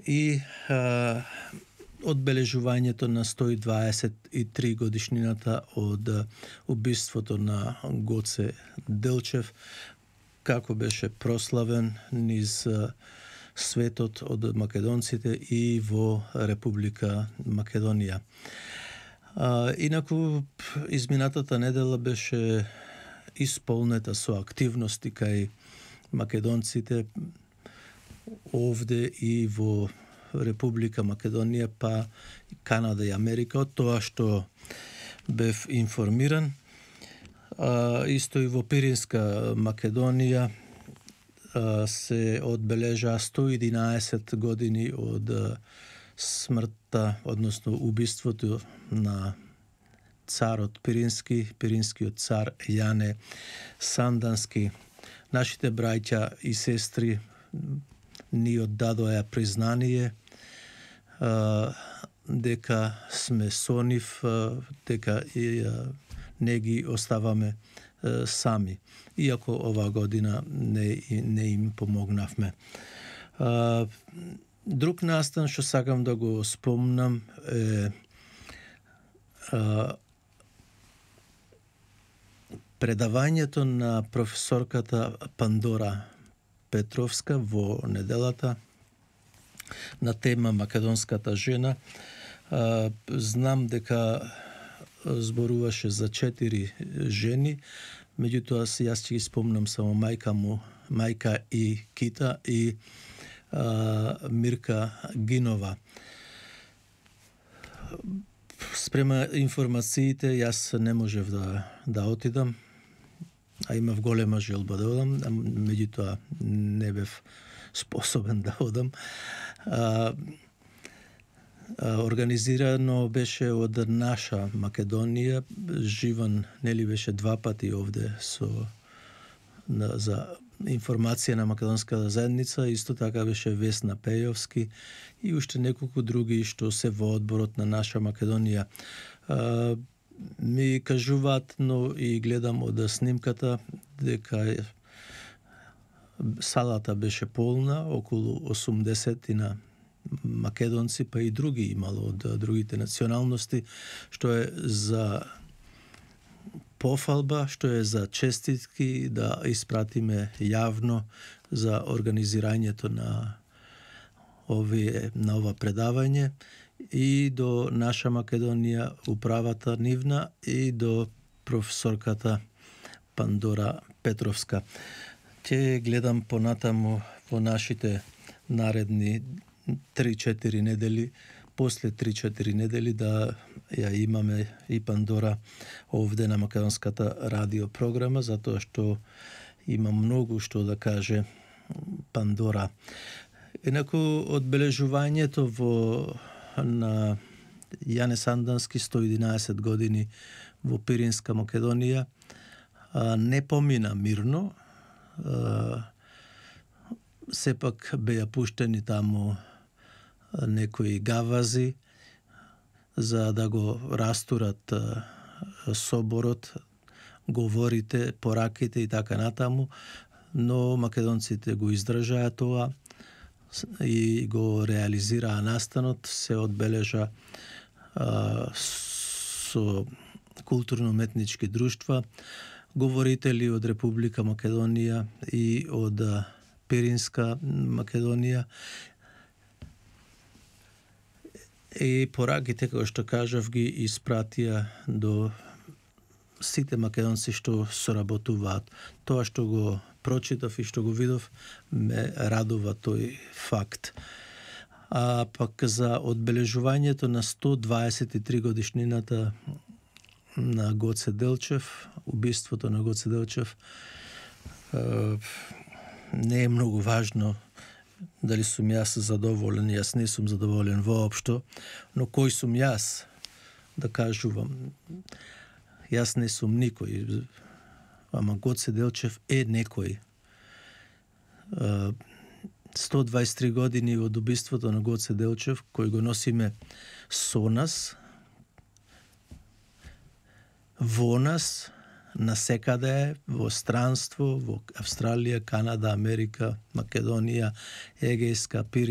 и одбележувањето на 123 годишнината од убиството на Гоце Делчев, како беше прославен низ светот од македонците и во Република Македонија. Инаку, изминатата недела беше исполнета со активности кај македонците овде и во Република Македонија, па Канада и Америка, од тоа што бев информиран. Исто и во Пиринска Македонија се одбележа 111 години од смртта, односно убиството на царот Пирински, пиринскиот цар Јане Сандански. Нашите браќа и сестри ни оддадоа признание дека сме со нив, дека не ги оставаме сами, иако оваа година не им помогнавме. Друг настан што сакам да го спомнам е предавањето на професорката Пандора Петровска во неделата на тема Македонската жена. Знам дека зборуваше за 4 жени, меѓутоа јас ќе ги спомнам само мајка и Кита и Мирка Гинова. Спрема информациите, јас не можев да отидам, а имав голема желба да одам, меѓутоа не бев способен да одам. Организирано беше од наша Македонија. Живан нели беше 2 пати овде за информација на македонската заедница, исто така беше Весна Пејовски и уште неколку други што се во одборот на наша Македонија. Ми кажуваат, но и гледам од снимката, дека салата беше полна, околу 80 македонци, па и други имало од другите националности, што е за пофалба, што е за честитки да испратиме јавно за организирањето на ова предавање и до наша Македонија, управата нивна и до професорката Пандора Петровска. Ќе гледам понатаму во нашите наредни 3-4 недели, после 3-4 недели да ја имаме и Пандора овде на македонската радиопрограма, затоа што има многу што да каже Пандора. Инаку одбележувањето на Јане Сандански 111 години во Пиринска Македонија не помина мирно. Сепак беа пуштени таму некои гавази за да го растурат соборот, говорите, пораките и така натаму, но македонците го издржаа тоа и го реализираа настанот, се одбележа со културно-уметнички друштва, говорители од Република Македонија и од Пиринска Македонија. И пораките, како што кажав, ги испратија до сите македонци што соработуваат. Тоа што го прочитав и што го видов, ме радува тој факт. А пак за одбележувањето на 123 годишнината на Гоце Делчев, убиството на Гоце Делчев, не е многу важно дали сум јас задоволен, јас не сум задоволен воопшто, но кој сум јас да кажувам? Јас не сум никој, ама Гоце Делчев е некој. 123 години од убиството на Гоце Делчев, кој го носиме со нас, во нас, насекаде, во странство, во Австралија, Канада, Америка, Македонија, Егејска,